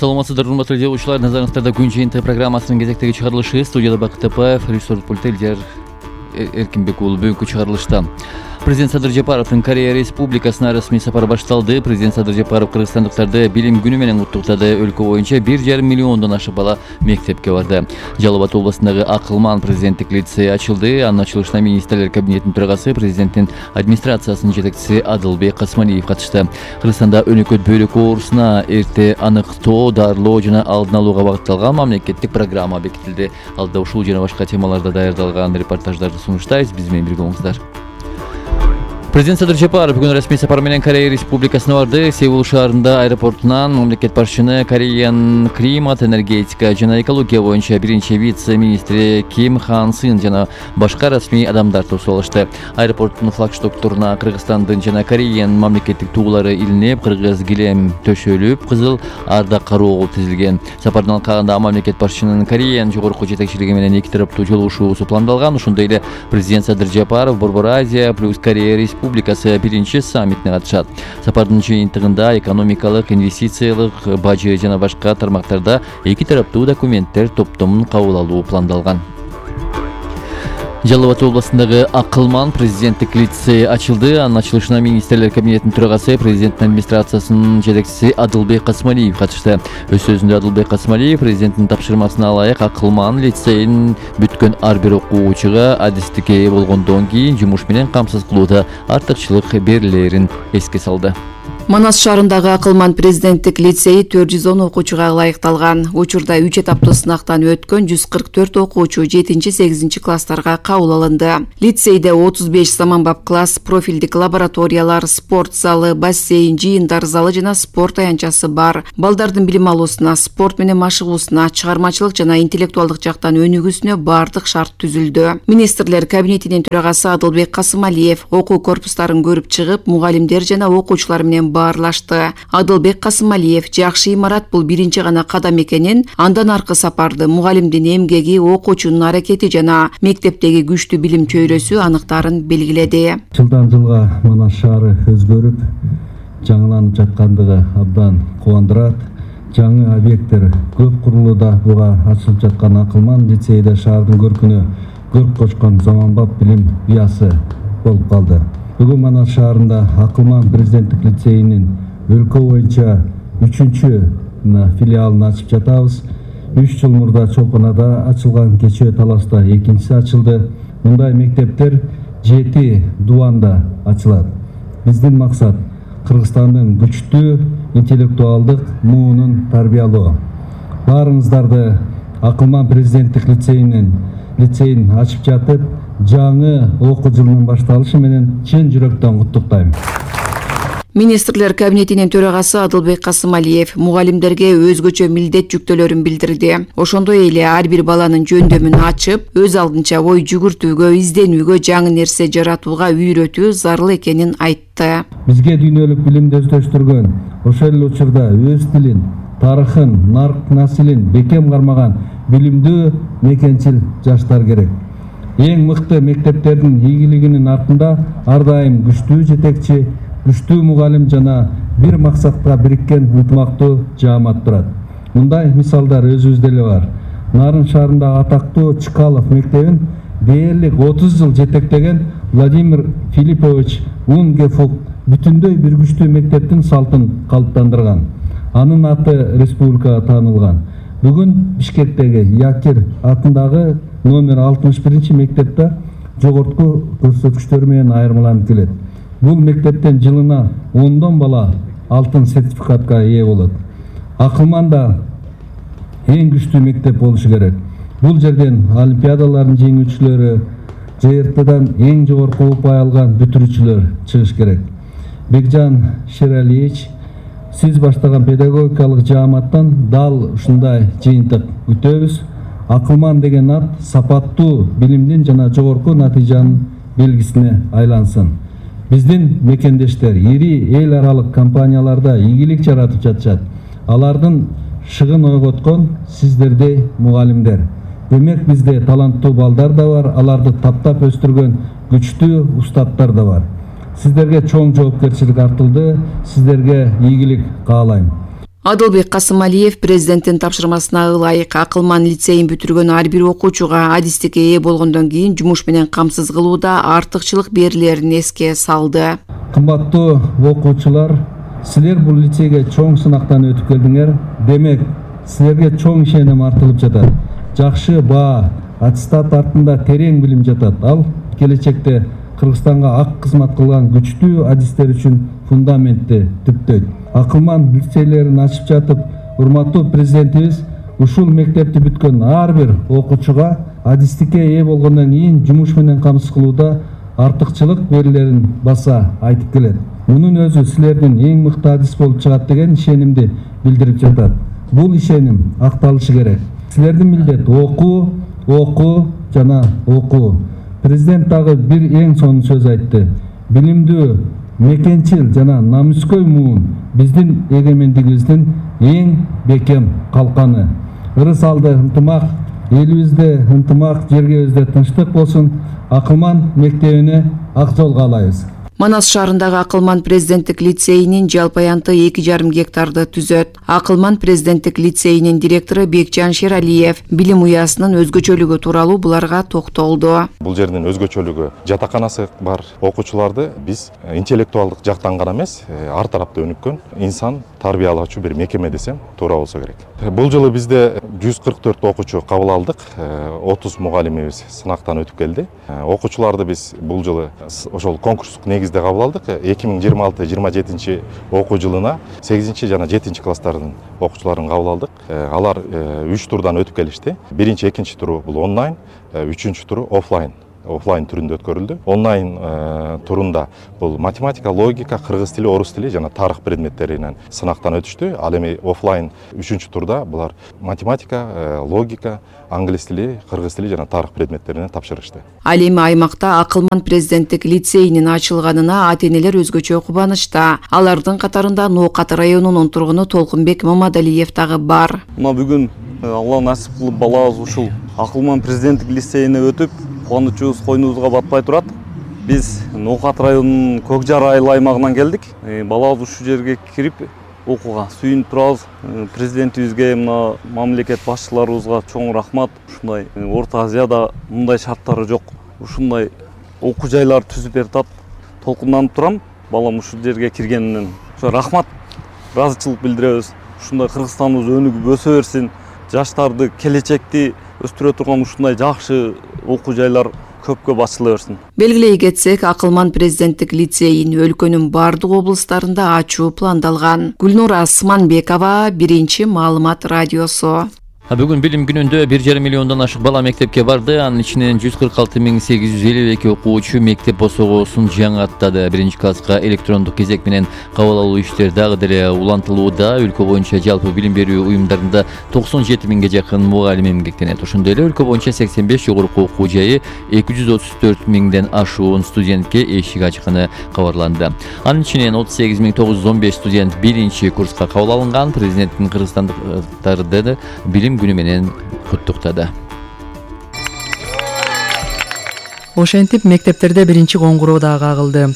Саламатсыздар, урматтуу телеучулар. Назарыңыздарда күн жыйынтыгы программасынын кезектеги чыгарылышы. Студияда Бакыт Тапаев, режиссер пульти Элдер Эркинбек уулу. Бүгүнкү чыгарылышта Президент Садыр Жапаровдун Корея Республикасына расмий сапары башталды. Президент Садыр Жапаров кыргызстандыктарды билим күнү менен куттуктады. Өлкө боюнча 1,5 миллиондон ашык бала мектепке барды. Жалал Абад областындагы Акылман президенттик лицей ачылды. Анын ачылышына министрлер кабинетинин төрагасы, президенттин администрациясынын жетекчиси Адылбек Касымалиев катышты. Кыргызстанда өнөкөт бөйрөк оорусуна эрте аныктоо, дарылоо жана алдын алууга багытталган мамлекеттик программа бекитилди. Алда ушул жана башка темаларда даярдалган репортаждарды сунуштайбыз. Биз менен бирге болуңуздар. Президент Садыр Жапаров бүгүн расмий сапар менен Корея Республикасына барды. Сеул шаарында аэропортунан мамлекет башчыны Кореянын климат, энергетика жана экология боюнча биринчи вице-министри Ким Хан Сын жана башка расмий адамдар тосуп алышты. Аэропорттун флагштокторуна Кыргызстандын жана Кореянын мамлекеттик туулары илинип, кыргыз килем төшөлүп, кызыл ардак кароогул тизилген. Сапардын алкагында мамлекет башчынын Кореянын жогорку жетекчилиги менен эки тараптуу жолугушуусу пландалган. Ошондой эле президент Садыр Жапаров Борбор Азия плюс Корея Республикасы биринчи саммитине катышат. Сапардын жыйынтыгында экономикалык, инвестициялык, бажы жана башка тармактарда эки тараптуу документтер топтомун кабыл алуу пландалган. Жалал Абад областындагы Акылман президенттик лицей ачылды. Анын ачылышына министрлер кабинетинин төрагасы, президенттин администрациясынын жетекчиси Адылбек Касымалиев катышты. Өз сөзүндө Адылбек Касымалиев президенттин тапшырмасына ылайык Акылман лицейин бүткөн ар бир окуучуга адистикке ээ болгондон кийин жумуш менен камсыз кылууда артыкчылык берилерин эске салды. Манас шаарындагы Акылман президенттик лицейи 410 окуучуга ылайыкталган. Учурда 3 этаптуу сынактан өткөн 144 окуучу 7-8 класстарга кабыл алынды. Лицейде 35 заманбап класс, профилдик лабораториялар, спорт залы, бассейн, жыйындар залы жана спорт аянтчасы бар. Балдардын билим алуусуна, спорт менен машыгуусуна, чыгармачылык жана интеллектуалдык жактан өнүгүүсүнө бардык шарт түзүлдү. Министрлер кабинетинин төрагасы Адылбек Касымалиев окуу корпустарын көрүп чыгып, мугалимдер жана окуучулар менен баарлашты. Адылбек Касымалиев жакшы имарат бул биринчи гана кадам экенин, андан аркы сапарды мугалимдин эмгеги, окуучунун аракети жана мектептеги күчтүү билим чөйрөсү аныктарын белгиледи. Жылдан жылга Манас шаары өзгөрүп, жаңыланып жаткандыгы абдан кубандырат. Жаңы объекттер көп курулууда. Буга ачылып жаткан Акылман лицейде шаардын көркүнө көрк кочкон заманбап билим уясы болуп калды. Бүгүн Манас шаарында Акылман президенттик лицейинин өлкө боюнча 3-чү филиалын ачып жатабыз. 3 жыл мурда Чолпонада ачылган, кечээ Таласта экинчиси ачылды. Мындай мектептер 7 дубанда ачылат. Биздин максат Кыргызстандын күчтүү интеллектуалдык муунун тарбиялоо. Баарыңыздарды Акылман президенттик лицейин ачып жатып, жаңы окуу жылынын башталышы менен чын жүрөктөн куттуктайм. Министрлер кабинетинин төрагасы Адылбек Касымалиев мугалимдерге өзгөчө милдет жүктөлөрүн билдирди. Ошондой эле ар бир баланын жөндөмүн ачып, өз алдынча ой жүгүртүүгө, изденүүгө, жаңы нерсе жаратууга үйрөтүү зарыл экенин айтты. Бизге дүйнөлүк билимди өздөштүргөн, ошол эле учурда өз тилин, тарыхын, нарк насилин бекем кармаган билимдүү мекенчил жаштар керек. Эң мыкты мектептердин ийгилигинин артында ар дайым күчтүү жетекчи, күчтүү мугалим жана бир максатка бириккен ынтымактуу жаамат турат. Мындай мисалдар өзүбүздө эле бар. Нарын шаарындагы атактуу Чкалов мектебин дээрлик 30 жыл жетектеген Владимир Филиппович Унгефук бүтүндөй бир күчтүү мектептин салтын калыптандырган. Анын аты республикага таанылган. Бүгүн Бишкектеги Якир атындагы номер 61 мектепте жогорку көрсөткүчтөр менен айырмаланып келет. Бул мектептен жылына 10 бала алтын сертификатка ээ болот. Акылманда эң күчтүү мектеп болушу керек. Бул жерден олимпиадалардын жеңүүчүлөрү, ЖРТдан эң жогорку упай алган бүтүрүүчүлөр чыгыш керек. Бекжан Шералиевич, сиз баштаган педагогикалык жааматтан дал ушундай жыйынтык күтөбүз. Акылман деген ат сапаттуу билимдин жана жогорку натыйжанын белгисине айлансын. Биздин мекендештер ири эл аралык компанияларда ийгилик жаратып жатышат. Алардын шыгын ойготкон сиздердей мугалимдер. Демек бизде таланттуу балдар да бар, аларды таптап өстүргөн күчтүү устаттар да бар. Сиздерге чоң жоопкерчилик артылды, сиздерге ийгилик каалайм. Адылбек Касымалиев президенттин тапшырмасына ылайык акылман лицейин бүтүргөн ар бир окуучуга адистикке ээ болгондон кийин жумуш менен камсыз кылууда артыкчылык берилерин эске салды. Кымбаттуу окуучулар, силер бул лицейге чоң сынактан өтүп келдиңер. Демек, силерге чоң ишеним артылып жатат. Жакшы баа, аттестат артында терең билим жатат. Ал келечекте Кыргызстанга ак кызмат кылган күчтүү адистер үчүн фундаментти түптөйт. Акылман лицейлерин ачып жатып, урматтуу президентибиз ушул мектепти бүткөн ар бир окуучуга адистикке ээ болгондон кийин жумуш менен камсыз кылууда артыкчылык берилерин баса айтып келет. Мунун өзү силердин эң мыкты адис болуп чыгат деген ишенимди билдирип жатат. Бул ишеним акталышы керек. Силердин милдет окуу жана окуу. Президент дагы бир эң сонун сөз айтты. Билимдүү, мекенчил жана намыскөй муун биздин эгемендигибиздин эң бекем калканы. Ырыс алды ынтымак, элибизде ынтымак, жергебизде тынчтык болсун. Акылман мектебине ак жол каалайбыз. Манас шаарындагы Акылман президенттик лицейинин жалпы аянты 2,5 гектарды түзөт. Акылман президенттик лицейинин директору Бекжан Шералиев билим уясынын өзгөчөлүгү тууралуу буларга токтолду. Бул жердин өзгөчөлүгү жатаканасы бар. Окуучуларды биз интеллектуалдык жактан гана эмес, ар тарапта өнүккөн инсан тарбиялоочу бир мекеме десем туура болсо керек. Бул жылы бизде 144 окуучу кабыл алдык. 30 мугалимибиз сынактан өтүп келди. Окуучуларды биз бул жылы ошол конкурстук негизде кабыл алдык. 2026-27 окуу жылына 8 жана 7 класстардын окуучуларын кабыл алдык. Алар 3 турдан өтүп келишти. Биринчи, экинчи туру бул онлайн, үчүнчү туру офлайн түрүндө өткөрүлдү. Онлайн турунда бул математика, логика, кыргыз тили, орус тили жана тарых предметтеринен сынактан өтүштү. Ал эми офлайн үчүнчү турда булар математика, логика, англис тили, кыргыз тили жана тарых предметтеринен тапшырышты. Ал эми аймакта Акылман президенттик лицейинин ачылганына ата-энелер өзгөчө кубанычта. Алардын катарында Ноокат районунун тургуну Толкунбек Мамадалиев дагы бар. Мына бүгүн Алла насип кылып балабыз ушул Акылман президенттик лицейине өтүп, кубанычыбыз койнубузга батпай турат. Биз Ноокат районунун Көк Жар айыл аймагынан келдик. Балабыз ушул жерге кирип окууга сүйүнүп турабыз. Президентибизге, мына мамлекет башчыларыбызга чоң рахмат. Ушундай Орто Азияда мындай шарттары жок. Ушундай окуу жайлар түзүп берип, толкунданып турам. Балам ушул жерге киргенинен рахмат, ыраазычылык билдиребиз. Ушундай Кыргызстаныбыз өнүгүп өсө берсин. Жаштарды, келечекти өстүрө турган ушундай жакшы окуу жайлар көпкө ачыла берсин. Белгилей кетсек, Акылман президенттик лицейин өлкөнүн бардык облустарында ачуу пландалган. Гүлнура Асманбекова, Биринчи маалымат радиосу. Бүгүн билим күнүндө 1,5 миллиондон ашык бала мектепке барды. Анын ичинен 146,852 окуучу мектеп босогосун жаңы аттады. Биринчи класска электрондук кезек менен кабыл алуу иштери дагы деле улантылууда. Өлкө боюнча жалпы билим берүү уюмдарында 97 миңге жакын мугалим эмгектенет. Ошондой эле өлкө боюнча 85 жогорку окуу жайы 234 миңден ашуун студентке эшик ачканы кабарланды. Анын ичинен 38,915 студент биринчи курска кабыл алынган. Президенттин кыргызстандыктарды билим күнү менен куттуктады. Ошентип мектептерде биринчи коңгуроо дагы кагылды.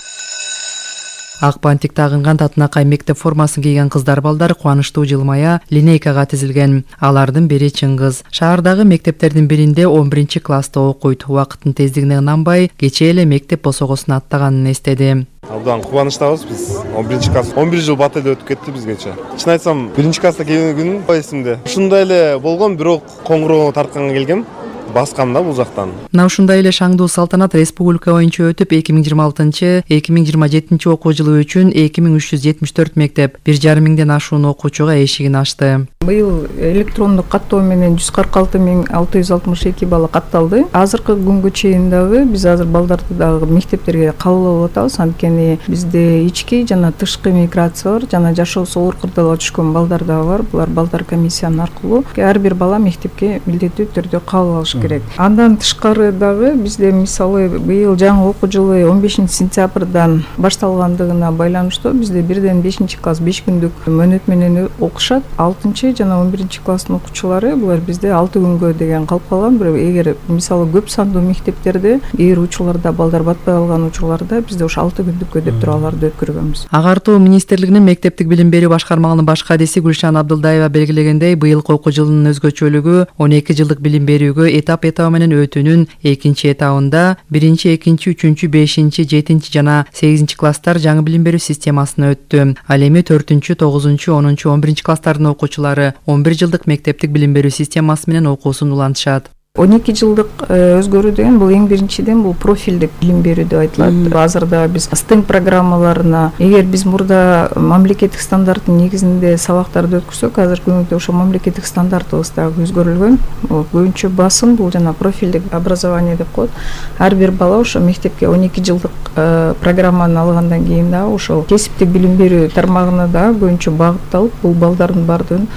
Ак бантик тагынган татынакай мектеп формасын кийген кыздар балдар кубанычтуу жылмая линейкага тизилген. Алардын бири Чыңгыз. Шаардагы мектептердин биринде 11 класста окуйт. Убакыттын тездигине ынанбай, кечээ эле мектеп босогосун аттаганын эстеди. Абдан кубанычтабыз биз. 11 класс 11 жыл бат эле өтүп кетти бизгече. Чын айтсам, 1 класста келген күнүм эсимде. Ушундай эле болгон, бирок коңгуроо тартканга келгем. Баскам да бул жактан. Мына ушундай эле шаңдуу салтанат республика боюнча өтүп, 2026-2027 окуу жылы үчүн 2374 мектеп 1,5 миңден ашуун окуучуга эшигин ачты. Быйыл электрондук каттоо менен 146,662 бала катталды. Азыркы күнгө чейин дагы биз азыр балдарды дагы мектептерге кабыл алып атабыз. Анткени бизде ички жана тышкы миграция бар, жана жашоосу оор кырдаалга түшкөн балдар дагы бар. Булар балдар комиссиянын аркылуу ар бир бала мектепке милдеттүү түрдө кабыл алыш керек. Андан тышкары дагы бизде мисалы быйыл жаңы окуу жылы 15-сентябрдан башталгандыгына байланыштуу бизде 1-5 класс 5 күндүк мөөнөт менен окушат. 6 жана 11 класстын окуучулары булар бизде 6 күнгө деген калып калган. Бирок эгер мисалы көп сандуу мектептерде кээ бир учурларда балдар батпай калган учурларда бизде ошо 6 күндүккө деп туруп аларды өткөргөнбүз. Агартуу министрлигинин мектептик билим берүү башкармагынын баш кадиси Гүлшан Абдылдаева белгилегендей, быйылкы окуу жылынын өзгөчөлүгү 12 жылдык билим берүүгө этап менен өтүүнүн экинчи этабында 1, 2, 3, 5, 7 жана 8 класстар жаңы билим берүү системасына өттү. Ал эми 4, 9, 10, 11 класстардын окуучулары 11 жылдык мектептик билим берүү системасы менен окуусун улантышат. 12 жылдык өзгөрүү деген бул эң биринчиден бул профилдик билим берүү деп айтылат. Азырда биз STEM программаларына, эгер биз мурда мамлекеттик стандарттын негизинде сабактарды өткөрсөк, азыркы күндө ошо мамлекеттик стандартыбыз дагы өзгөрүлгөн. Көбүнчө басым бул жана профилдик образование деп коет. Ар бир бала ошо мектепке 12 жылдык программаны алгандан кийин дагы ошо кесиптик билим берүү тармагына дагы көбүнчө багытталып, бул балдардын бардыгын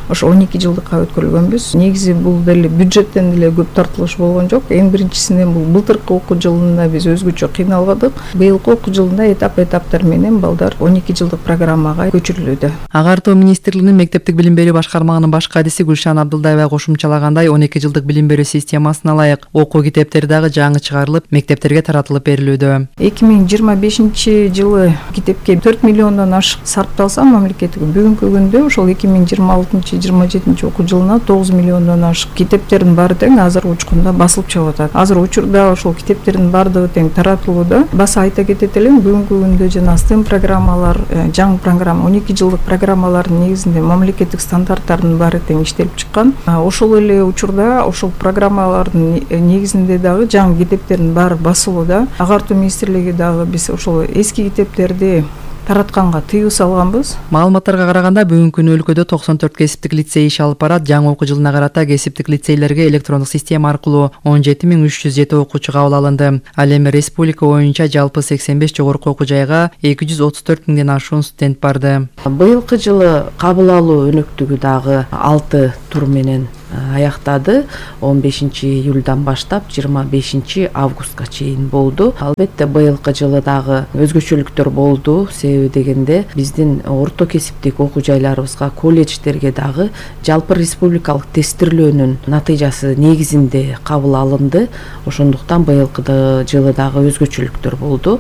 ошо 12 жылдыкка өткөрүлгөнбүз. Негизи бул деле бюджеттен деле көп тартылыш болгон жок. Эң биринчисинен бул былтыркы окуу жылында биз өзгөчө кыйналбадык. Быйылкы окуу жылында этаптар менен балдар 12 жылдык программага көчүрүлүүдө. Агартуу министрлигинин мектептик билим берүү башкармагынын баш кадиси Гүлшан Абдылдаева кошумчалагандай, 12 жылдык билим берүү системасына ылайык окуу китептери дагы жаңы чыгарылып, мектептерге таратылып берилүүдө. 2025 жылы китепке 4 миллиондон ашык сарпталса мамлекеттик, бүгүнкү күндө ошол 2026-27 окуу жылына 9 миллиондон ашык китептердин баары тең азыр учкунда басылып чыгып атат. Азыр учурда ошол китептердин баардыгы тең таратылууда. Баса айта кетет элем, бүгүнкү күндө жана STEM программалар, жаңы программа 12 жылдык программалардын негизинде мамлекеттик стандарттардын баары тең иштелип чыккан. Ошол эле учурда ошол программалардын негизинде дагы жаңы китептердин баары басылууда. Агартуу министрлиги дагы биз ошол эски китептерди таратканга тыюу салганбыз. Маалыматтарга караганда бүгүнкү күнү өлкөдө 94 кесиптик лицей иш алып барат. Жаңы окуу жылына карата кесиптик лицейлерге электрондук система аркылуу 17307 окуучу кабыл алынды. Ал эми республика боюнча жалпы 85 жогорку окуу жайга 234 миңден ашуун студент барды. Быйылкы жылы кабыл алуу өнөктүгү дагы 6 тур менен аяктады. 15 июлдан баштап 25 августка чейин болду. Албетте быйылкы жылы дагы өзгөчөлүктөр болду. Себеби дегенде биздин орто кесиптик окуу жайларыбызга, колледждерге дагы жалпы республикалык тестирлөөнүн натыйжасы негизинде кабыл алынды. Ошондуктан быйылкы жылы дагы өзгөчөлүктөр болду.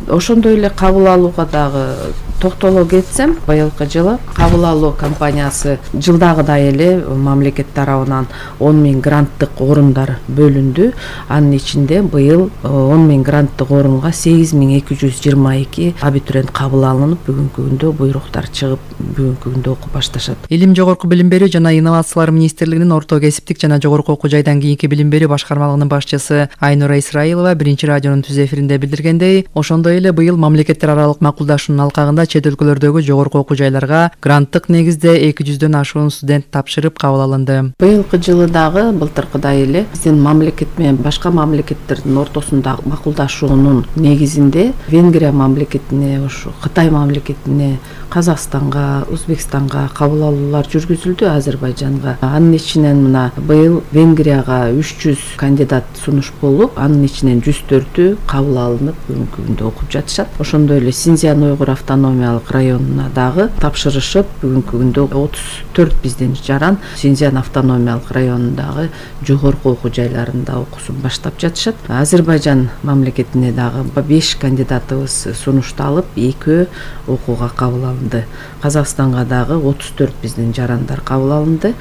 Ошондой эле кабыл алууга дагы токтоло кетсем, быйылкы жылы кабыл алуу компаниясы жылдагыдай эле мамлекет тарабынан 10 000 гранттык орундар бөлүндү. Анын ичинде быйыл 10 000 гранттык орунга 8222 абитуриент кабыл алынып, бүгүнкү күндө буйруктар чыгып, бүгүнкү күндө окуп башташат. Илим, жогорку билим берүү жана инновациялар министрлигинин орто кесиптик жана жогорку окуу жайдан кийинки билим берүү башкармалыгынын башчысы Айнура Исраилова биринчи радионун түз эфиринде билдиргендей, ошондой эле быйыл мамлекеттер аралык макулдашуунун алкагында чет өлкөлөрдөгү жогорку окуу жайларга гранттык негизде 200дөн ашуун студент тапшырып кабыл алынды. Быйылкы жылы дагы былтыркыдай эле биздин мамлекет менен башка мамлекеттердин ортосунда макулдашуунун негизинде Венгрия мамлекетине, ошо Кытай мамлекетине, Казакстанга, Өзбекстанга кабыл алуулар жүргүзүлдү, Азербайжанга. Анын ичинен мына быйыл Венгрияга 300 кандидат сунуш болуп, анын ичинен 104-ü кабыл алынып, бүгүнкү күндө окуп жатышат. Ошондой эле Синьцзян Уйгур автономиялык районуна дагы тапшырышып, бүгүнкү күндө 34 биздин жаран Синьцзян автономиялык районундагы жогорку окуу жайларында окуусун баштап жатышат. Азербайжан мамлекетине дагы 5 кандидатыбыз сунушталып, 2 окууга кабыл алынды. Казакстанга дагы 34 биздин жарандар кабыл алынды.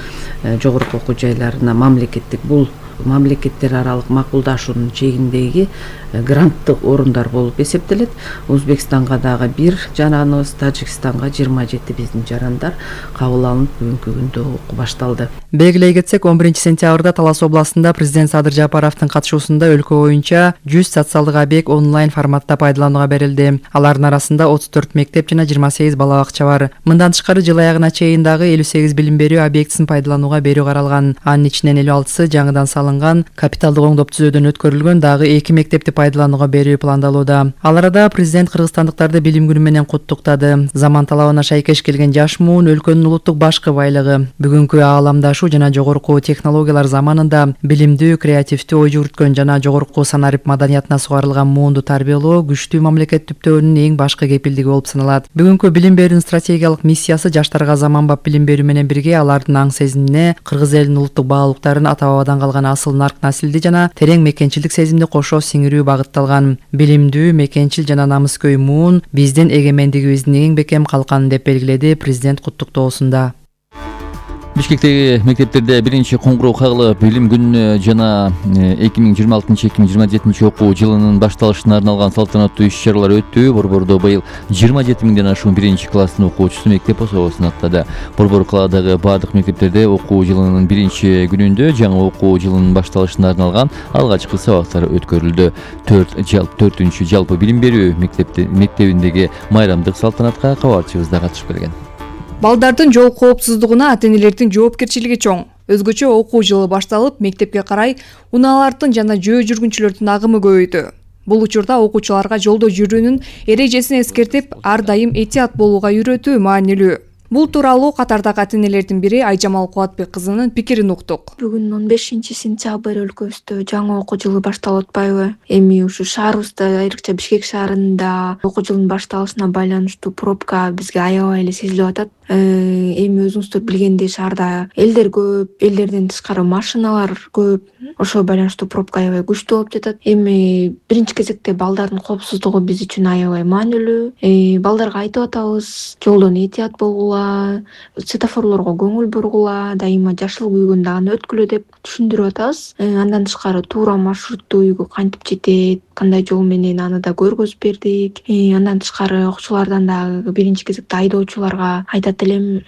Жогорку окуу жайларына мамлекеттик бул мамлекеттер аралык макулдашуунун чегиндеги гранттык орундар болуп эсептелет. Өзбекстанга дагы 1 жараныбыз, Тажикстанга 27 биздин жарандар кабыл алынып, бүгүнкү күндө окуу башталды. Белгилей кетсек, 11 сентябрда Талас областында президент Садыр Жапаровдун катышуусунда өлкө боюнча 100 социалдык объект онлайн форматта пайдаланууга берилди. Алардын арасында 34 мектеп жана 28 бала бакча бар. Мындан тышкары жыл аягына чейин дагы 58 билим берүү объектисин пайдаланууга берүү каралган. Анын ичинен 56-сы жаңыдан алынган капиталдык оңдоп түзөөдөн өткөрүлгөн дагы 2 мектепти пайдаланууга берүү пландалууда. Ал арада президент кыргызстандыктарды билим күнү менен куттуктады. Заман талабына шайкеш келген жаш муун өлкөнүн улуттук башкы байлыгы. Бүгүнкү ааламдашуу жана жогорку технологиялар заманында билимдүү, креативдүү ой жүгүрткөн жана жогорку санарип маданиятына сугарылган муунду тарбиялоо күчтүү мамлекет түптөөнүн эң башкы кепилдиги болуп саналат. Бүгүнкү билим берүүнүн стратегиялык миссиясы жаштарга заманбап билим берүү менен бирге алардын аң сезимине кыргыз элинин улуттук баалуулуктарын ата бабадан калган асыл нарк насилди жана терең мекенчилдик сезимди кошо сиңирүү багытталган. Билимдүү, мекенчил жана намыскөй муун биздин эгемендигибиздин эң бекем калканы деп белгиледи президент куттуктоосунда. Бишкектеги мектептерде биринчи коңгуроо кагылып, билим күнүнө жана 2026-2027 окуу жылынын башталышына арналган салтанаттуу иш-чаралар өттү. Борбордо быйыл 27 миңден ашуун биринчи класстын окуучусу мектеп особосун аттады. Борбор калаадагы бардык мектептерде окуу жылынын биринчи күнүндө жаңы окуу жылынын башталышына арналган алгачкы сабактар өткөрүлдү. 4-ч жалпы билим берүү мектебиндеги майрамдык салтанатка кабарчыбыз да катышып келген. Балдардын жол коопсуздугуна ата-энелердин жоопкерчилиги чоң. Өзгөчө окуу жылы башталып, мектепке карай унаалардын жана жөө жүргүнчүлөрдүн агымы көбөйдү. Бул учурда окуучуларга жолдо жүрүүнүн эрежесин эскертип, ар дайым этият болууга үйрөтүү маанилүү. Бул тууралуу катардагы ата-энелердин бири Айжамал Кубатбек кызынын пикирин уктук. Бүгүн 15-сентябрь өлкөбүздө жаңы окуу жылы башталып атпайбы? Эми ушу шаарыбызда, айрыкча Бишкек шаарында окуу жылынын башталышына байланыштуу пробка бизге аябай эле сезилип атат. Эми өзүңүздөр билгендей шаарда элдер көп, элдерден тышкары машиналар көп. Ошого байланыштуу пробка аябай күчтүү болуп жатат. Эми биринчи кезекте балдардын коопсуздугу биз үчүн аябай маанилүү. Балдарга айтып атабыз, жолдон этият болгула, светофорлорго көңүл бургула, дайыма жашыл күйгөндө аны өткүлө деп түшүндүрүп атабыз. Андан тышкары туура маршрутту үйгө кантип жетет, кандай жол менен аны да көргөзүп бердик. Андан тышкары окуучулардан дагы биринчи кезекте айдоочуларга айтат элем,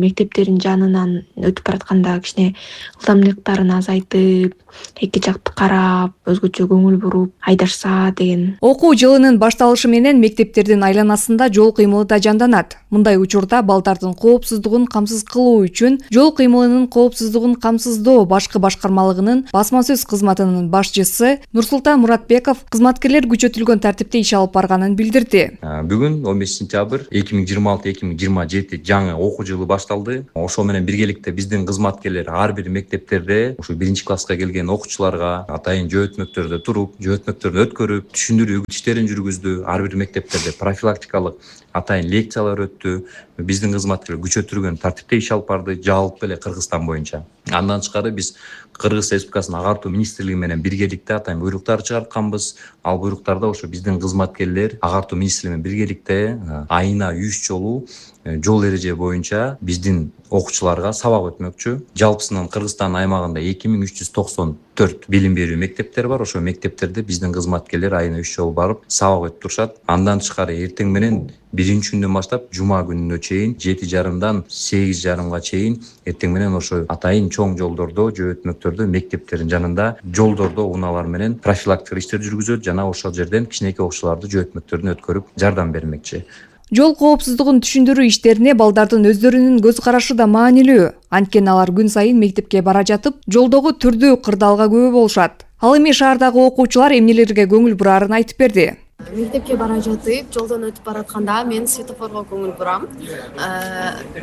мектептердин жанынан өтүп баратканда кичине ылдамдыктарын азайтып, эки жакты карап, өзгөчө көңүл буруп айдашса деген. Окуу жылынын башталышы менен мектептердин айланасында жол кыймылы да жанданат. Мындай учурда балдардын коопсуздугун камсыз кылуу үчүн жол кыймылынын коопсуздугун камсыздоо башкы башкармалыгынын басма сөз кызматынын башчысы Нурсултан Муратбеков кызматкерлер күчөтүлгөн тартипте иш алып барганын билдирди. Бүгүн 15 сентябрь 2026-2027 жаңы окуу жылы башталды. Ошо менен биргеликте биздин кызматкерлер ар бир мектептерде ушу биринчи класска келген окуучуларга атайын жөөтмөктөрдө туруп, жөөтмөктөрдү өткөрүп, түшүндүрүү иштерин жүргүздү. Ар бир мектептерде профилактикалык атайын лекциялар өттү. Биздин кызматкерлер күчөтүлгөн тартипте иш алып барды, жалпы эле Кыргызстан боюнча. Андан тышкары биз Кыргыз Республикасынын агартуу министрлиги менен биргеликте атайын буйруктар чыгартканбыз. Ал буйруктарда ошо биздин кызматкерлер агартуу министрлиги менен биргеликте айына 3 жолу жол эреже боюнча биздин окуучуларга сабак өтмөкчү. Жалпысынан Кыргызстан аймагында 2394 билим берүү мектептер бар. Ошо мектептерде биздин кызматкерлер айына 3 жолу барып сабак өтүп турушат. Андан тышкары эртең менен биринчи күндөн баштап жума күнүнө чейин 7:30-дан 8:30га чейин эртең менен ошо атайын чоң жолдордо, жөөтмөктөрдө, мектептердин жанында жолдордо унаалар менен профилактика иштер жүргүзөт жана ошол жерден кичинекей окуучуларды жөөтмөктөрүнө өткөрүп жардам бермекчи. Жол коопсуздугун түшүндүрүү иштерине балдардын өздөрүнүн көз карашы да маанилүү. Анткени алар күн сайын мектепке бара жатып, жолдогу түрдүү кырдаалга күбө болушат. Ал эми шаардагы окуучулар эмнелерге көңүл бурарын айтып берди. Мектепке бара жатып, жолдон өтүп баратканда мен светофорго көңүл бурам.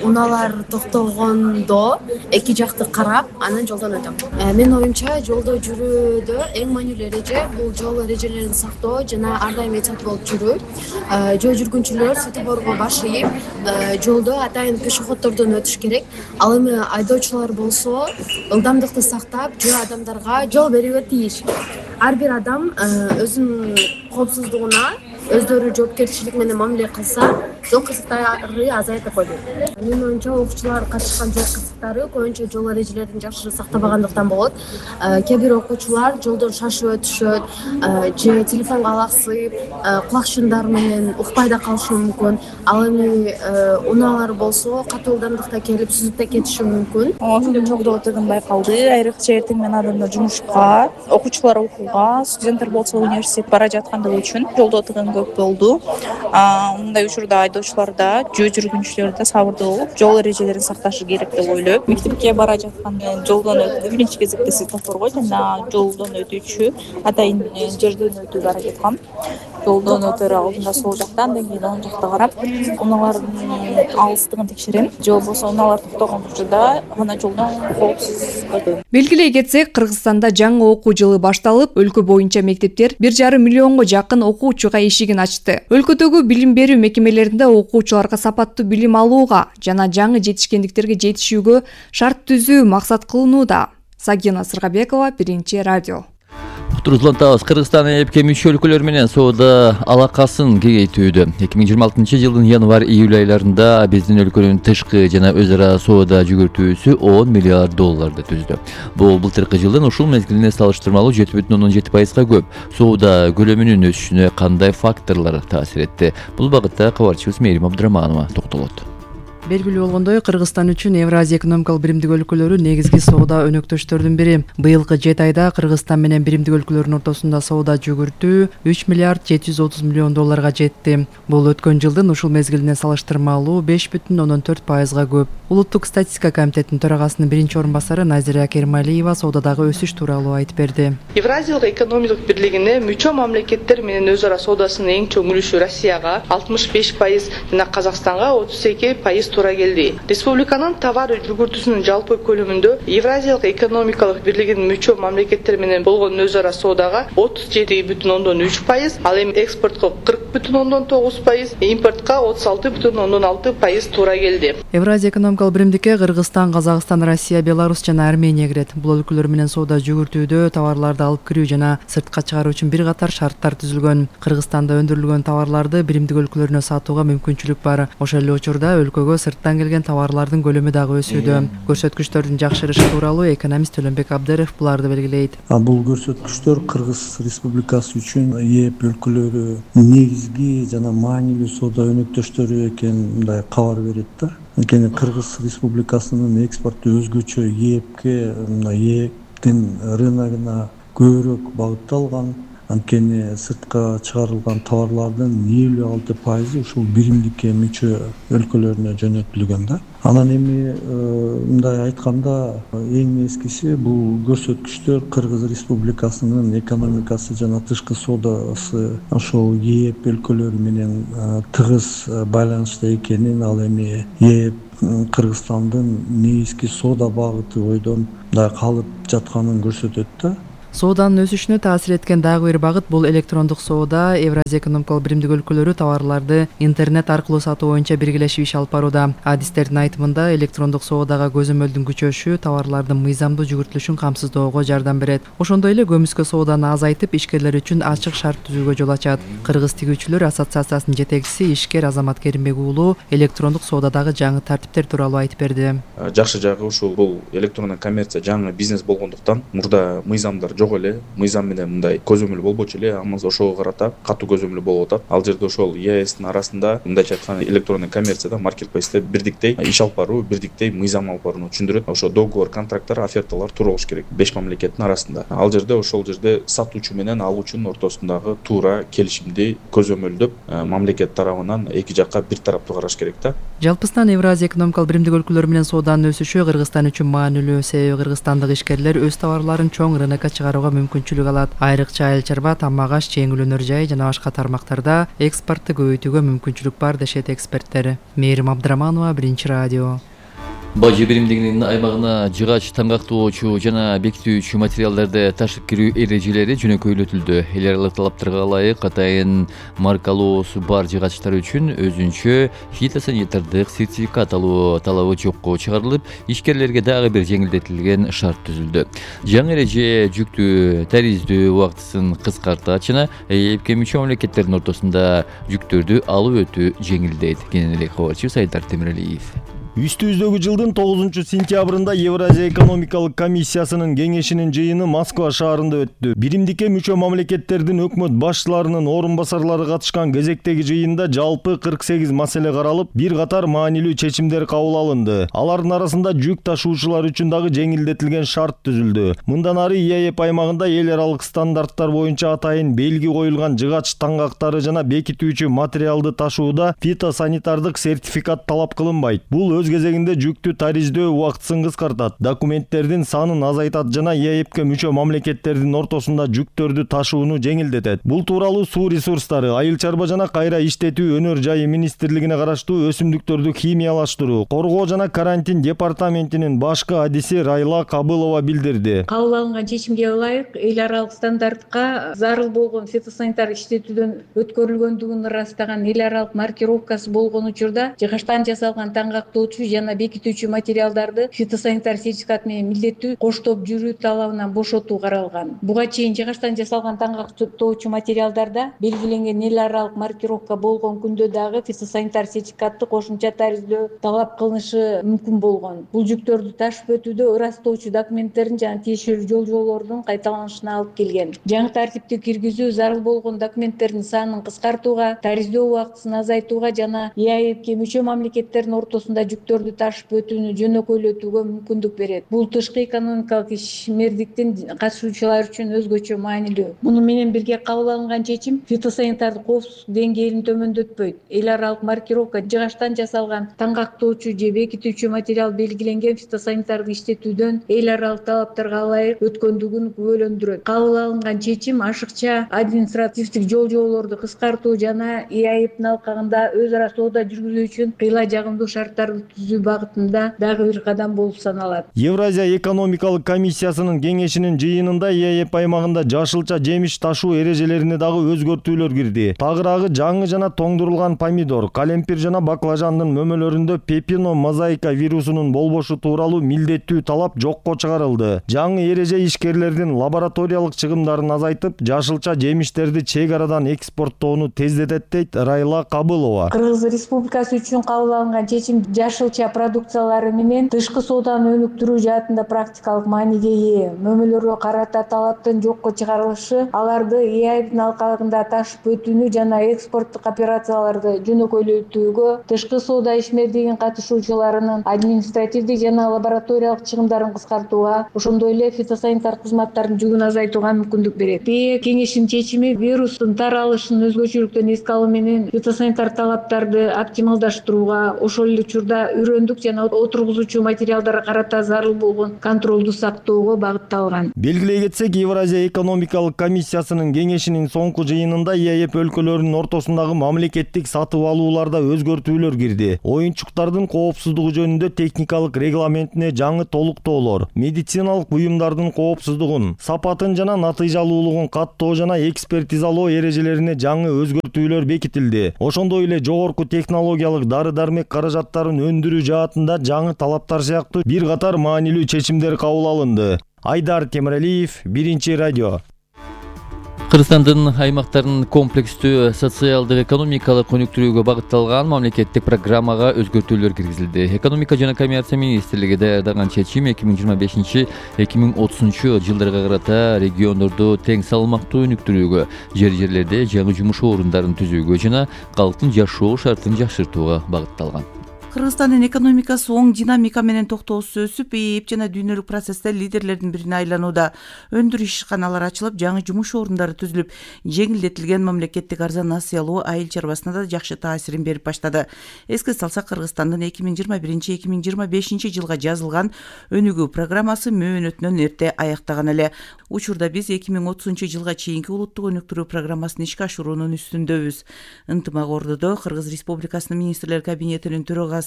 Унаалар токтогондо эки жакты карап, анан жолдон өтөм. Менин оюмча, жолдо жүрүүдө эң маанилүү эреже бул жол эрежелерин сактоо жана ар дайым этият болуп жүрүү. Жөө жүргүнчүлөр светофорго баш ийип, жолдо атайын пешеходдордон өтүш керек. Ал эми айдоочулар болсо, ылдамдыкты сактап, жөө адамдарга жол берүүгө тийиш. Ар бир адам өзүнүн коопсуздугуна өздөрү жоопкерчилик менен мамиле кылса, жол кырсыктары азаят болот. Менин оюмча, окуучулар катышкан жол кырсыктары көбүнчө жол эрежелерин жакшы сактабагандыктан болот. Кээ бир окуучулар жолдон шашып өтүшөт, же телефонго алаксып, кулак шындар менен укпай да калышы мүмкүн. Ал эми унаалар болсо, катуу ылдамдыкта келип сүзүп да кетиши мүмкүн. Ошондой жолдо өтөгөн байкалды. Айрыкча эртең менен адамдар жумушка, окуучулар окууга, студенттер болсо университет бара жаткандыгы үчүн жолдо отурган көп болду. Мындай учурда айдоочулар да, жөө жүргүнчүлөр да сабырдуу болуп, жол эрежелерин сакташы керек деп ойлойм. Мектепке бара жатканда жолдон өтүү биринчи кезекте светофорго жана жолдон өтүүчү атайын жерден өтүүгө аракет кылам. Жолдон өтөр алдында сол жакта, андан кийин оң жакта карап, унаалардын алыстыгын текшерем. Же болбосо унаалар токтогон учурда гана жолдон коопсуз өтөм. Белгилей кетсек, Кыргызстанда жаңы окуу жылы башталып, өлкө боюнча мектептер 1,5 миллионго жакын окуучуга эшигин ачты. Өлкөдөгү билим берүү мекемелеринде окуучуларга сапаттуу билим алууга жана жаңы жетишкендиктерге жетишүүгө шарт түзүү максат кылынууда. Сагина Сыргабекова, Биринчи радио. Турузлантабыз. Кыргызстан ЭЭПке мүчө өлкөлөр менен соода алакасын кеңейтүүдө. 2026-жылдын январь-июль айларында биздин өлкөнүн тышкы жана өз ара соода жүгүртүүсү $10 миллиард түздү. Бул былтыркы жылдын ушул мезгилине салыштырмалуу 7,7%га көп. Соода көлөмүнүн өсүшүнө кандай факторлор таасир этти? Бул багытта кабарчыбыз Мээрим Абдыраманова токтолот. Белгилүү болгондой, Кыргызстан үчүн Евразия экономикалык биримдик өлкөлөрү негизги соода өнөктөштөрдүн бири. Быйылкы 7 айда Кыргызстан менен биримдик өлкөлөрдүн ортосунда соода жүгүртүү $3 миллиард 730 миллион жетти. Бул өткөн жылдын ушул мезгилине салыштырмалуу 5,4%га көп. Улуттук статистика комитетинин төрагасынын биринчи орун басары Назира Кермалиева соодадагы өсүш тууралуу айтып берди. Евразиялык экономикалык бирлигине мүчө мамлекеттер менен өз ара соодасынын эң чоң үлүшү Россияга 65% жана Казакстанга 32% туура келди. Республиканын товар жүгүртүүсүнүн жалпы көлөмүндө Евразиялык экономикалык бирлигинин мүчө мамлекеттер менен болгон өз ара соодага 37,3%, ал эми экспортко 40,9%, импортко 36,6% туура келди. Евразия экономикалык биримдикке Кыргызстан, Казакстан, Россия, Беларусь жана Армения кирет. Бул өлкөлөр менен соода жүгүртүүдө товарларды алып кирүү жана сыртка чыгаруу үчүн бир катар шарттар түзүлгөн. Кыргызстанда өндүрүлгөн товарларды биримдик өлкөлөрүнө сатууга мүмкүнчүлүк бар. Ошол эле учурда өлкөгө сырттан келген товарлардын көлөмү дагы өсүүдө. Көрсөткүчтөрдүн жакшырышы тууралуу экономист Төлөнбек Абдыров буларды белгилейт. Бул көрсөткүчтөр Кыргыз Республикасы үчүн ЕЭП өлкөлөрү негизги жана маанилүү соода өнөктөштөрү экенин мындай кабар берет да. Анткени Кыргыз Республикасынын экспорту өзгөчө ЕЭПке, ЕЭПтин рыногуна көбүрөөк багытталган. Анткени сыртка чыгарылган товарлардын 56% ушул биримдикке мүчө өлкөлөрүнө жөнөтүлгөн да. Анан эми мындай айтканда эң эскиси бул көрсөткүчтөр Кыргыз Республикасынын экономикасы жана тышкы соодасы ошол ЕЭП өлкөлөрү менен тыгыз байланышта экенин, ал эми ЕЭП Кыргызстандын негизги соода багыты бойдон мындай калып жатканын көрсөтөт да. Сооданын өсүшүнө таасир эткен дагы бир багыт бул электрондук соода. Евразия экономикалык биримдик өлкөлөрү товарларды интернет аркылуу сатуу боюнча биргелешип иш алып барууда. Адистердин айтымында электрондук соодага көзөмөлдүн күчөшү товарлардын мыйзамдуу жүгүртүлүшүн камсыздоого жардам берет. Ошондой эле көмүскө сооданы азайтып, ишкерлер үчүн ачык шарт түзүүгө жол ачат. Кыргыз тигүүчүлөр ассоциациясынын жетекчиси ишкер Азамат Керимбек уулу электрондук соодадагы жаңы тартиптер тууралуу айтып берди. Жакшы жагы ушул бул электрондук коммерция жаңы бизнес болгондуктан мурда мыйзамдар жок эле, мыйзам менен мындай көзөмөл болбочу эле, амма ошого карата катуу көзөмөл болуп атат. Ал жерде ошол ЕАЭСтин арасында мындайча айтканда электрондук коммерцияда маркетплейсте бирдиктей иш алып баруу, бирдиктей мыйзам алып барууну түшүндүрөт. Ошо договор, контракттар, оферталар туура болуш керек 5 мамлекеттин арасында. Ал жерде ошол жерде сатуучу менен алуучунун ортосундагы туура келишимди көзөмөлдөп мамлекет тарабынан эки жакка бир тараптуу караш керек да. Жалпысынан Евразия экономикалык биримдик өлкөлөр менен сооданын өсүшү Кыргызстан үчүн маанилүү, себеби кыргызстандык ишкерлер өз товарларын чоң рынокко чыгарууга мүмкүнчүлүк алат. Айрыкча айыл чарба, тамак аш, жеңил өнөр жай жана башка тармактарда экспортту көбөйтүүгө мүмкүнчүлүк бар дешет эксперттер. Мээрим Абдыраманова, Биринчи радио. Бажы биримдигинин аймагына жыгач, таңгактоочу жана бекитүүчү материалдарды ташып кирүү эрежелери жөнөкөйлөтүлдү. Эл аралык талаптарга ылайык атайын маркалоосу бар жыгачтар үчүн өзүнчө фитосанитардык сертификат алуу талабы жокко чыгарылып, ишкерлерге дагы бир жеңилдетилген шарт түзүлдү. Жаңы эреже жүктү тариздөө убактысын кыскартат жана ЭЭПке мүчө мамлекеттердин ортосунда жүктөрдү алып өтүү жеңилдейт. Кененирээк кабарчыбыз Айдар Темиралиев. Үстүбүздөгү жылдын 9-сентябрында Евразия экономикалык комиссиясынын кеңешинин жыйыны Москва шаарында өттү. Биримдикке мүчө мамлекеттердин өкмөт башчыларынын орун басарлары катышкан кезектеги жыйында жалпы 48 маселе каралып, бир катар маанилүү чечимдер кабыл алынды. Алардын арасында жүк ташуучулар үчүн дагы жеңилдетилген шарт түзүлдү. Мындан ары ЕАЭП аймагында эл аралык стандарттар боюнча атайын белги коюлган жыгач таңгактары жана бекитүүчү материалды ташууда фитосанитардык сертификат талап кылынбайт. Бул өз кезегинде жүктү тариздөө убактысын кыскартат, документтердин санын азайтат жана ЕАЭПке мүчө мамлекеттердин ортосунда жүктөрдү ташууну жеңилдетет. Бул тууралуу суу ресурстары, айыл чарба жана кайра иштетүү өнөр жайы министрлигине караштуу өсүмдүктөрдү химиялаштыруу, коргоо жана карантин департаментинин башкы адиси Райла Кабылова билдирди. Кабыл алынган чечимге ылайык эл аралык стандартка зарыл болгон фитосанитар иштетүүдөн өткөрүлгөндүгүн ырастаган эл аралык маркировкасы болгон учурда жыгачтан жасалган таңгактоочу жана бекитүүчү материалдарды фитосанитар сертификат менен милдеттүү коштоп жүрүү талабынан бошотуу каралган. Буга чейин жыгачтан жасалган таңгактоочу материалдарда белгиленген эл аралык маркировка болгон күндө дагы фитосанитар сертификатты кошумча тариздөө талап кылынышы мүмкүн болгон. Бул жүктөрдү ташып өтүүдө ырастоочу документтердин жана тиешелүү жол-жоболордун кайталанышына алып келген. Жаңы тартипти киргизүү зарыл болгон документтердин санын кыскартууга, тариздөө убактысын азайтууга жана ЕАЭПке мүчө мамлекеттердин ортосунда жүктөрдү ташып өтүүнү жөнөкөйлөтүүгө мүмкүндүк берет. Бул тышкы экономикалык ишмердиктин катышуучулары үчүн өзгөчө маанилүү. Муну менен бирге кабыл алынган чечим фитосанитардык коопсуздук деңгээлин төмөндөтпөйт. Эл аралык маркировка жыгачтан жасалган таңгактоочу же бекитүүчү материал белгиленген фитосанитардык иштетүүдөн эл аралык талаптарга ылайык өткөндүгүн күбөлөндүрөт. Кабыл алынган чечим ашыкча административдик жол-жоболорду кыскартуу жана ЕАЭПтин алкагында өз ара соода жүргүзүү үчүн кыйла жагымдуу шарттарды түзүү багытында дагы бир кадам болуп саналат. Евразия экономикалык комиссиясынын кеңешинин жыйынында ЕАЭП аймагында жашылча жемиш ташуу эрежелерине дагы өзгөртүүлөр кирди. Тагыраагы жаңы жана тоңдурулган помидор, калемпир жана баклажандын мөмөлөрүндө пепино мозаика вирусунун болбошу тууралуу милдеттүү талап жокко чыгарылды. Жаңы эреже ишкерлердин лабораториялык чыгымдарын азайтып, жашылча жемиштерди чек арадан экспорттоону тездетет дейт Райла Кабылова. Кыргыз Республикасы үчүн кабыл алынган чечим жашылча продукциялары менен тышкы сооданы өнүктүрүү жаатында практикалык мааниге ээ. Мөмөлөргө карата талаптын жокко чыгарылышы аларды ЕАЭПтин алкагында ташып өтүүнү жана экспорттук операцияларды жөнөкөйлөтүүгө, тышкы соода ишмердигин катышуучуларынын административдик жана лабораториялык чыгымдарын кыскартууга, ошондой эле фитосанитар кызматтардын жүгүн азайтууга мүмкүндүк берет. Кеңештин чечими вирустун таралышын өзгөчөлүктөн эске алуу менен фитосанитар талаптарды оптималдаштырууга, ошол эле учурда үрөндүк жана отургузуучу материалдарга карата зарыл болгон контролду сактоого багытталган. Белгилей кетсек, Евразия экономикалык комиссиясынын кеңешинин соңку жыйынында ЕАЭП өлкөлөрүнүн ортосундагы мамлекеттик сатып алууларда өзгөртүүлөр кирди. Оюнчуктардын коопсуздугу жөнүндө техникалык регламентине жаңы толуктоолор, медициналык буюмдардын коопсуздугун, сапатын жана натыйжалуулугун каттоо жана экспертизалоо эрежелерине жаңы өзгөртүүлөр бекитилди. Ошондой эле жогорку технологиялык дары-дармек каражаттарын өндүрүү жаатында жаңы талаптар сыяктуу бир катар маанилүү чечимдер кабыл алынды. Айдар Темиралиев, Биринчи радио. Кыргызстандын аймактарын комплекстүү социалдык экономикалык өнүктүрүүгө багытталган мамлекеттик программага өзгөртүүлөр киргизилди. Экономика жана коммерция министрлиги даярдаган чечим 2025-2030 жылдарга карата региондорду тең салмактуу өнүктүрүүгө, жерлерде жаңы жумуш орундарын түзүүгө жана калктын жашоо шартын жакшыртууга багытталган. Кыргызстандын экономикасы оң динамика менен токтоосуз өсүп, ИИБ жана дүйнөлүк процессте лидерлердин бирине айланууда. Өндүрүш ишканалары ачылып, жаңы жумуш орундары түзүлүп, жеңилдетилген мамлекеттик арзан насый алуу айыл чарбасына да жакшы таасирин берип баштады. Эске салсак, Кыргызстандын 2021-2025 жылга жазылган өнүгүү программасы мөөнөтүнөн эрте аяктаган эле. Учурда биз 2030 жылга чейинки улуттук өнүктүрүү программасын ишке ашыруунун үстүндөбүз. Ынтымак Ордодо Кыргыз Республикасынын министрлер кабинетинин төрагасы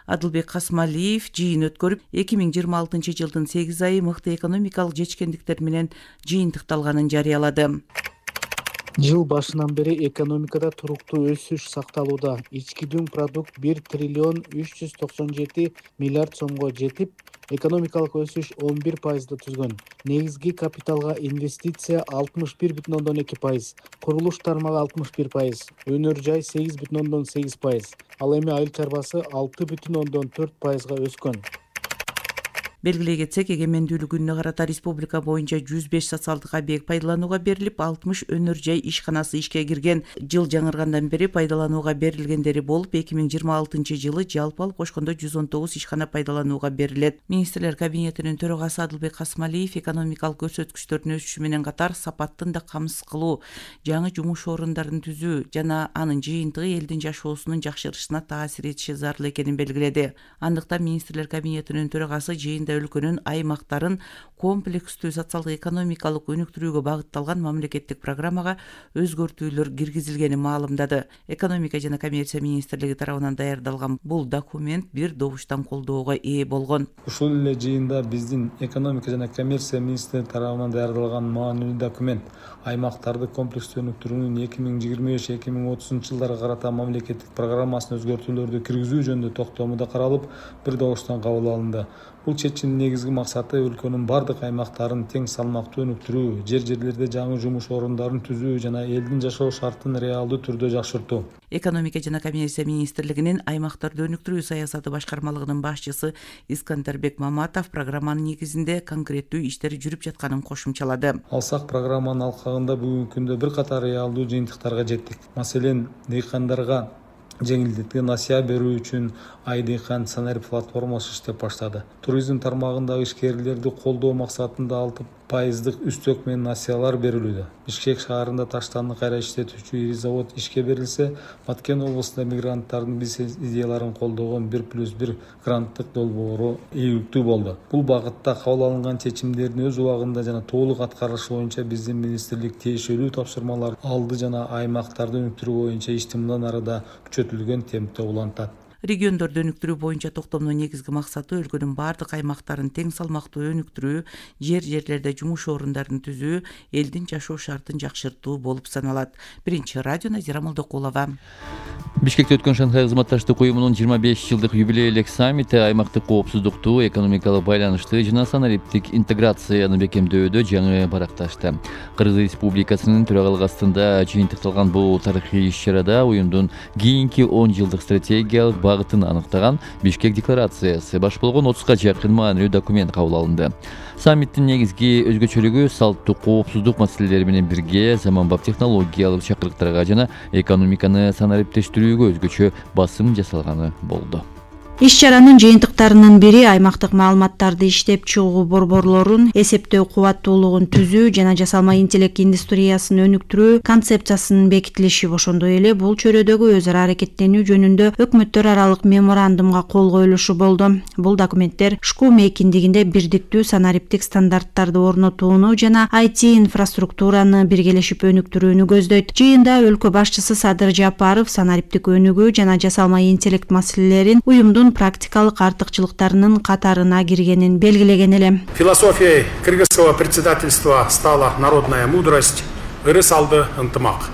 Адылбек Касмалиев жыйын өткөрүп, 2026 жылдын 8 айы мыкты экономикалык жетишкендиктер менен жыйынтыкталганын жарыялады. Жыл башынан бери экономикада туруктуу өсүш сакталууда. Ички дүң продукт 1 триллион 397 миллиард сомго жетип, экономикалык өсүш 11%ды түзгөн. Негизги капиталга инвестиция 61,2%, курулуш тармагы 61%, өнөр жай 8,8%, ал эми айыл чарбасы 6,4%га өскөн. Белгилей кетсек, эгемендүүлүк күнүнө карата республика боюнча 105 социалдык объект пайдаланууга берилип, 60 өнөр жай ишканасы ишке кирген. Жыл жаңыргандан бери пайдаланууга берилгендери болуп, 2026 жылы жалпы алып кошкондо 119 ишкана пайдаланууга берилет. Министрлер кабинетинин төрагасы Адылбек Касымалиев экономикалык көрсөткүчтөрдүн өсүшү менен катар сапаттын да камсыз кылуу, жаңы жумуш орундарын түзүү жана анын жыйынтыгы элдин жашоосунун жакшырышына таасир этиши зарыл экенин белгиледи. Андыктан министрлер кабинетинин төрагасы жыйында өлкөнүн аймактарын комплекстүү социалдык экономикалык өнүктүрүүгө багытталган мамлекеттик программага өзгөртүүлөр киргизилгенин маалымдады. Экономика жана коммерция министрлиги тарабынан даярдалган бул документ бир добуштан колдоого ээ болгон. Ушул эле жыйында биздин экономика жана коммерция министрлиги тарабынан даярдалган маанилүү документ аймактарды комплекстүү өнүктүрүүнүн 2025-2030 жылдарга карата мамлекеттик программасына өзгөртүүлөрдү киргизүү жөнүндө токтомунда каралып, бир добуштан кабыл алынды. Бул чечимдин негизги максаты өлкөнүн бардык аймактарын тең салмактуу өнүктүрүү, жерлерде жаңы жумуш орундарын түзүү жана элдин жашоо шартын реалдуу түрдө жакшыртуу. Экономика жана коммерция министрлигинин аймактарды өнүктүрүү саясаты башкармалыгынын башчысы Искандербек Маматов программанын негизинде конкреттүү иштер жүрүп жатканын кошумчалады. Алсак программанын алкагында бүгүнкү күндө бир катар реалдуу жыйынтыктарга жеттик. Маселен, дыйкандарга жеңилдеткен насыя берүү үчүн Айдыйкан Санарип платформасы иштеп баштады. Туризм тармагындагы ишкерлерди колдоо максатында 6% үстөк менен насыялар берилүүдө. Бишкек шаарында таштанды кайра иштетүүчү ири завод ишке берилсе, Баткен облусунда мигранттардын бизнес идеяларын колдогон 1+1 гранттык долбоору ийгиликтүү болду. Бул багытта кабыл алынган чечимдердин өз убагында жана толук аткарышы боюнча биздин министрлик тиешелүү тапшырмалар алды жана аймактарды өнүктүрүү боюнча ишти мындан ары да күчөтүлгөн темпте улантат. Региондорду өнүктүрүү боюнча токтомдун негизги максаты өлкөнүн бардык аймактарын тең салмактуу өнүктүрүү, жерлерде жумуш орундарын түзүү, элдин жашоо шартын жакшыртуу болуп саналат. Биринчи радио Назира Молдокулова. Бишкекте өткөн Шанхай кызматташтык уюмунун 25 жылдык юбилейлик саммити аймактык коопсуздукту, экономикалык байланышты жана санариптик интеграцияны бекемдөөдө жаңы баракташты. Кыргыз Республикасынын төрагалыгы астында жыйынтыкталган бул тарыхый иш-чарада уюмдун кийинки 10 жылдык стратегиялык багытын аныктаган Бишкек декларациясы баш болгон 30га жакын маанилүү документ кабыл алынды. Саммиттин негизги өзгөчөлүгү салттуу коопсуздук маселелери менен бирге заманбап технологиялык чакырыктарга жана экономиканы санариптештирүүгө өзгөчө басым жасалганы болду. Иш-чаранын жыйынтыктарынын бири аймактык маалыматтарды иштеп чыгуу борборлорун эсептөө кубаттуулугун түзүү жана жасалма интеллект индустриясын өнүктүрүү концепциясынын бекитилиши. Ошондой эле бул чөйрөдөгү өз ара аракеттенүү жөнүндө өкмөттөр аралык меморандумга кол коюлушу болду. Бул документтер ШКУ мейкиндигинде бирдиктүү санариптик стандарттарды орнотууну жана IT инфраструктураны биргелешип өнүктүрүүнү көздөйт. Жыйында өлкө башчысы Садыр Жапаров санариптик өнүгүү жана жасалма интеллект маселелерин уюмдун практикалык артыкчылыктарынын катарына киргенин белгилеген эле. Философией кыргызского председательства стала народная мудрость, ырыс-алды ынтымак.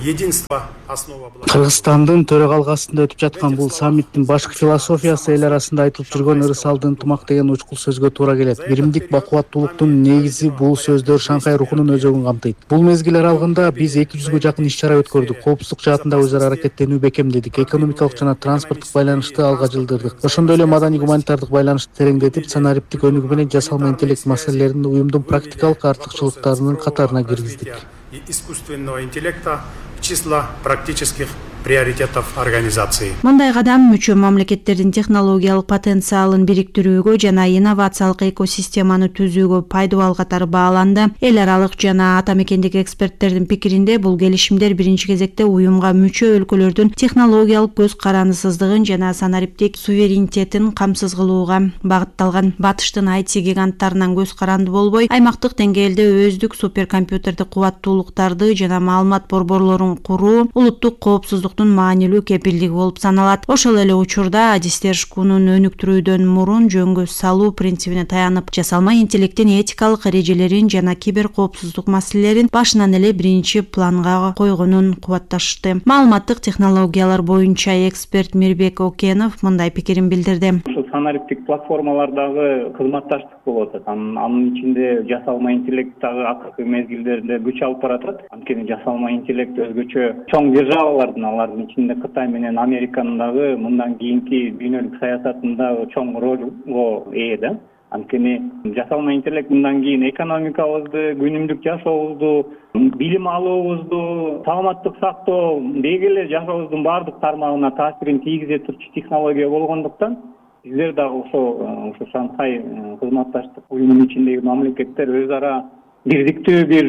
Единство основа. Кыргызстандын төрагалыгы астында өтүп жаткан бул саммиттин башкы философиясы эл арасында айтылып жүргөн ырыс-алды ынтымак деген учкул сөзгө туура келет. Биримдик бакубаттуулуктун негизи бул сөздөр Шанхай рухунун өзөгүн камтыйт. Бул мезгил аралыгында биз 200гө жакын иш-чара өткөрдүк. Коопсуздук жаатында өз ара аракеттенүү бекемдедик. Экономикалык жана транспорттук байланышты алга жылдырдык. Ошондой эле маданий гуманитардык байланышты тереңдетип, санариптик өнүгүү менен жасалма интеллект маселелерин уюмдун практикалык артыкчылыктарынын катарына киргиздик. И искусственного интеллекта в числа практических приоритетов организации. Мындай кадам мүчө мамлекеттердин технологиялык потенциалын бириктирүүгө жана инновациялык экосистеманы түзүүгө пайдабал катары бааланды. Эл аралык жана ата мекендик эксперттердин пикиринде бул келишимдер биринчи кезекте уюмга мүчө өлкөлөрдүн технологиялык көз карандысыздыгын жана санариптик суверенитетин камсыз кылууга багытталган. Батыштын IT гиганттарынан көз каранды болбой, аймактык деңгээлде өздүк суперкомпьютердик кубаттуулуктарды жана маалымат борборлорун куруу, улуттук коопсуздукту коопсуздуктун маанилүү кепилдиги болуп саналат. Ошол эле учурда адистер шкунун өнүктүрүүдөн мурун жөнгө салуу принцибине таянып, жасалма интеллекттин этикалык эрежелерин жана кибер коопсуздук маселелерин башынан эле биринчи планга койгонун кубатташты. Маалыматтык технологиялар боюнча эксперт Мирбек Окенов мындай пикирин билдирди. Санариптик платформалардагы кызматташтык болуп атат. Анын ичинде жасалма интеллект дагы акыркы мезгилдерде күч алып баратат. Анткени жасалма интеллект өзгөчө чоң державалардын, алардын ичинде Кытай менен Американын дагы мындан кийинки дүйнөлүк саясатында чоң ролго ээ да. Анткени жасалма интеллект мындан кийин экономикабызды, күнүмдүк жашообузду, билим алуубузду, саламаттык сактоо, деги эле жашообуздун баардык тармагына таасирин тийгизе турчу технология болгондуктан биздер дагы ошо Шанхай кызматташтык уюмунун ичиндеги мамлекеттер өз ара бирдиктүү бир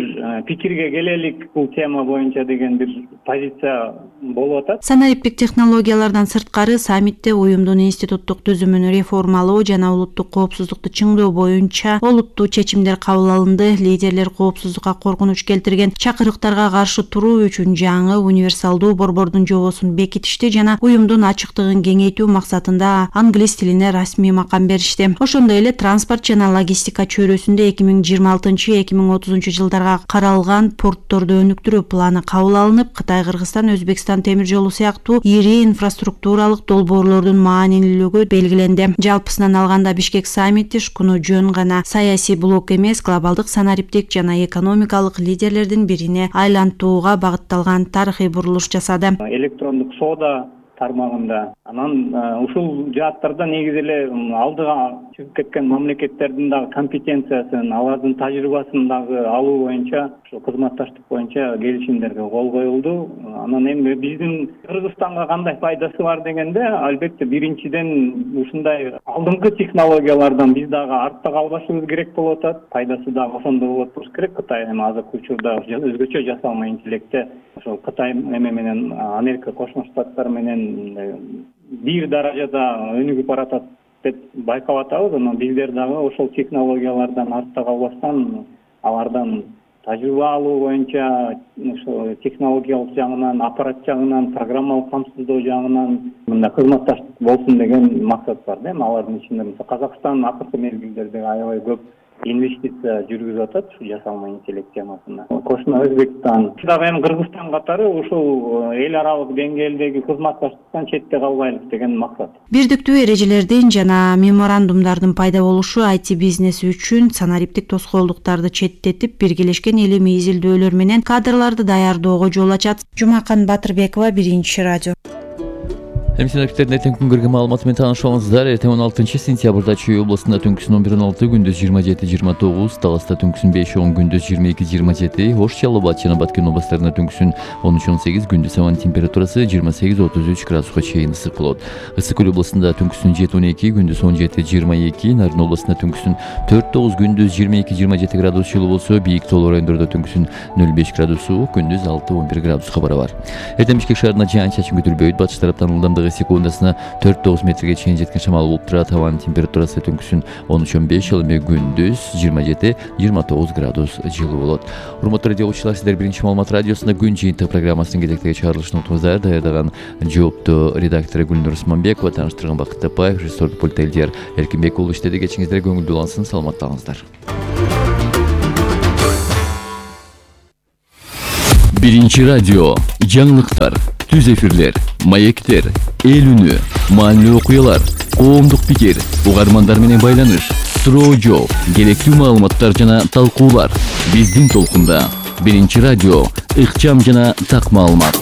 пикирге келелик бул тема боюнча деген бир позиция болуп атат. Санариптик технологиялардан сырткары саммитте уюмдун институттук түзүмүн реформалоо жана улуттук коопсуздукту чыңдоо боюнча олуттуу чечимдер кабыл алынды. Лидерлер коопсуздукка коркунуч келтирген чакырыктарга каршы туруу үчүн жаңы универсалдуу борбордун жобосун бекитишти жана уюмдун ачыктыгын кеңейтүү максатында англис тилине расмий макам беришти. Ошондой эле транспорт жана логистика чөйрөсүндө 2026-2030 жылдарга каралган портторду өнүктүрүү планы кабыл алынып, Кытай, Кыргызстан, Өзбекстан темир жолу сыяктуу ири инфраструктуралык долбоорлордун маанилүүлүгү белгиленди. Жалпысынан алганда Бишкек саммити шкуну жөн гана саясий блок эмес, глобалдык санариптик жана экономикалык лидерлердин бирине айлантууга багытталган тарыхый бурулуш жасады. Электрондук соода тармагында анан ушул жааттарда негизи эле алдыга чыгып кеткен мамлекеттердин дагы компетенциясын, алардын тажрыйбасын дагы алуу боюнча ушул кызматташтык боюнча келишимдерге кол коюлду. Анан эми биздин Кыргызстанга кандай пайдасы бар дегенде, албетте биринчиден ушундай алдыңкы технологиялардан биз дагы артта калбашыбыз керек болуп атат. Пайдасы дагы ошондой болот болуш керек. Кытай эми азыркы учурда өзгөчө жасалма интеллектте ошол Кытай менен Америка Кошмо Штаттары менен бир даражада өнүгүп баратат деп байкап атабыз. Анан биздер дагы ошол технологиялардан артта калбастан, алардан тажрыйба алуу боюнча ошо технологиялык жагынан, аппарат жагынан, программалык камсыздоо жагынан мындай кызматташтык болсун деген максат бар да. Алардын ичинде Казакстан акыркы мезгилдерде аябай көп инвестиция жүргүзүп атат ушу жасалма интеллект темасына. Кошмо Өзбекстан, дагы эми Кыргызстан катары ушул эл аралык деңгээлдеги кызматташтыктан четте калбайлык деген максат. Бирдиктүү эрежелердин жана меморандумдардын пайда болушу IT бизнеси үчүн санариптик тоскоолдуктарды четтетип, биргелешкен илимий изилдөөлөр менен кадрларды даярдоого жол ачат. Жумакан Батырбекова, Биринчи радио. Эмсинектердин эртең күнгөргө маалыматы менен таанышабыңыздар. Эртең 16 сентябрда Чүй областында түнкүсүн 11:16, күндүз 27-29, Таласта түнкүсүн 5:10, күндүз 22-27, Ош, Жалал Абад жана Баткен областарында түнкүсүн 13-18, күндүз абанын температурасы 28-33 градуска чейин ысык болот. Ысык Көл областында түнкүсүн 7-12, күндүз 17-22, Нарын областында түнкүсүн 4-9, күндүз 22-27 градус жылуу болсо, бийик тоолуу райондордо түнкүсүн 0,5 градус суук, күндүз 6-11 градуска барабар. Эртең Бишкек шаарында жаан-чачын күтүлбөйт. Батыш тараптан ылдамдыгы секундасына 4-9 метрге чейин жеткен шамал болуп турат. Абанын температурасы түнкүсүн 13-15, ал эми күндүз 27-29 градус жылуу болот. Урматтуу радио угуучулар, сиздер Биринчи маалымат радиосунда күн жыйынтыгы программасынын кезектеги чыгарылышын утуңуздар. Даярдаган жоопту редактору Гүлнур Усманбекова, тааныштырган Бакыт Тапаев, режиссер пульт Элдияр Эркинбек уулу иштеди. Кечиңиздер көңүлдүү улансын, саламатталыңыздар. Биринчи радио, жаңылыктар, түз эфирлер, маектер, эл үнү, маанилүү окуялар, коомдук пикир, угармандар менен байланыш, суроо жооп, керектүү маалыматтар жана талкуулар. Биздин толкунда Биринчи радио, ыкчам жана так маалымат.